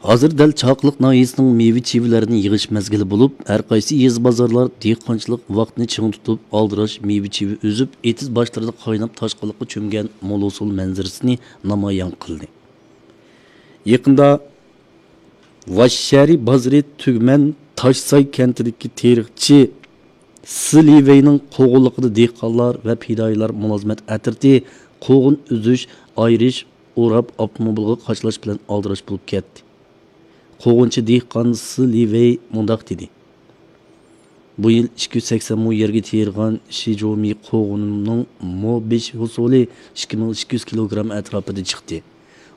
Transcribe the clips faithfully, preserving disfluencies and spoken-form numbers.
ھازىر دەل چاقىلىق ناھىيەسىنىڭ مېۋە-چىۋىلەرنى يىغىش مەزگىلى بولۇپ، ھەر قايسى يېزا-بازارلار دېھقانچىلىق ۋاقتىنى چىڭ تۇتۇپ، ئالدىراش مېۋە-چىۋە ئۈزۈپ، ئېتىز باشلىرىدا قايناپ تاشقىنلىققا چۆمگەن مول ھوسۇل مەنزىرىسىنى نامايان قىلدى. يېقىندا ۋاششەھىرى بازىرى تۈگمەن تاشساي كەنتىدىكى تېرىقچى سى لىۋېينىڭ قوغۇنلۇقىدا دېھقانلار ۋە پىدائىيلار مۇلازىمەت ئەترىتى قوغۇن ئۈزۈش، ئايرىش، ئوراپ، ئاپتوموبىلغا قاچىلاش بىلەن ئالدىراش بولۇپ كەتتى. قوغۇنچى دېھقان سى لىۋېي مۇنداق دېدى: «بۇ يىل ئىككى يۈز سەكسەن مو يەرگە تېرىغان شىجومى قوغۇنۇمنىڭ مو بېشى ھوسۇلى ئىككى مىڭ ئىككى يۈز كىلوگرام ئەتراپىدا چىقتى.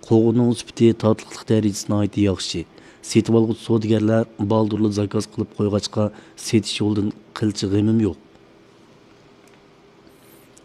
قوغۇننىڭ سۈپىتى، تاتلىقلىق دەرىجىسى ناھايىتى ياخشى. سېتىۋالغۇچى سودىگەرلەر بالدۇرلا زاكاز قىلىپ قويغاچقا، سېتىش يولىدىن قىلچە غېمىم يوق.»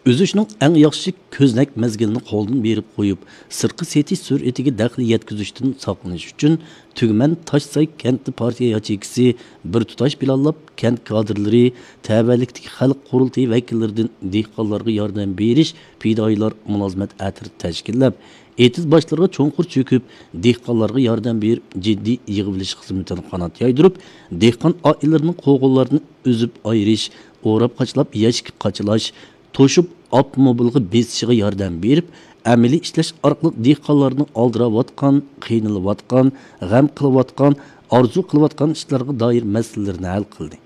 ئۈزۈشنىڭ ئەڭ ياخشى كۆزنەك مەزگىلىنى قولدىن بېرىپ قويۇپ، سىرتقا سېتىش سۈرئىتىگە دەخلى يەتكۈزۈشتىن ساقلىنىش ئۈچۈن، تۈگمەن تاشساي كەنتى پارتىيە ياچېيكىسى بىر تۇتاش پىلانلاپ، كەنت كادىرلىرى، تەۋەلىكتىكى خەلق قۇرۇلتىيى ۋەكىللىرىدىن دېھقانلارغا ياردەم بېرىش، پىدائىيلار مۇلازىمەت ئەترىتى تەشكىللەپ، ئېتىز باشلىرىغا چوڭقۇر چۆكۈپ، دېھقانلارغا ياردەم بېرىپ، جىددىي يىغىۋېلىش خىزمىتىنى قانات يايدۇرۇپ، دېھقان ئائىلىلىرىنىڭ قوغۇنلارنى ئۈزۈپ ئايرىش، ئوراپ قاچىلاپ يەشىككە قاچىلاش، توشۇپ ئاپتوموبىلغا بېسىشىغا ياردەم بېرىپ، ئەمەلىي ئىشلەش ئارقىلىق دېھقانلارنىڭ ئالدىراۋاتقان، قىينىلىۋاتقان، غەم قىلىۋاتقان، ئارزۇ قىلىۋاتقان ئىشلارغا دائىر مەسىلىلىرىنى ھەل قىلدى.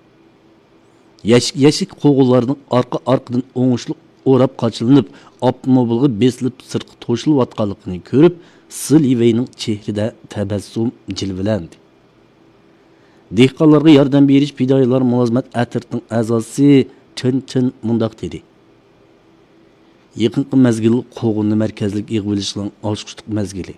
يەشىك، يەشىك قوغۇنلارنىڭ ئارقا-ئارقىدىن ئوڭۇشلۇق ئوراپ قاچىلىنىپ، ئاپتوموبىلغا بېسىلىپ سىرتقا توشۇلۇۋاتقانلىقىنى كۆرۈپ، سى لىۋېينىڭ چېھرىدە تەبەسسۇم جىلۋىلەندى. دېھقانلارغا ياردەم بېرىش پىدائىيلار مۇلازىمەت ئەترىتىنىڭ ئەزاسى چېن چېن مۇنداق دېدى: «يېقىنقى مەزگىل قوغۇننى مەركەزلىك يىغىۋېلىشنىڭ ئاچقۇچلۇق مەزگىلى.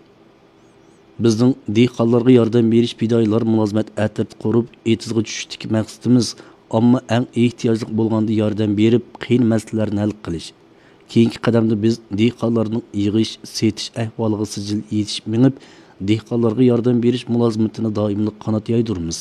بىزنىڭ دېھقانلارغا ياردەم بېرىش پىدائىيلار مۇلازىمەت ئەترىتى قۇرۇپ، ئېتىزغا چۈشۈشتىكى مەقسىتىمىز ئامما ئەڭ ئېھتىياجلىق بولغاندا ياردەم بېرىپ، قىيىن مەسىلىلەرنى ھەل قىلىش. كېيىنكى قەدەمدە بىز دېھقانلارنىڭ يىغىش، سېتىش ئەھۋالىغا سىجىل يېتىشىپ مېڭىپ، دېھقانلارغا ياردەم بېرىش مۇلازىمىتىنى دائىملىق قانات يايدۇرىمىز.»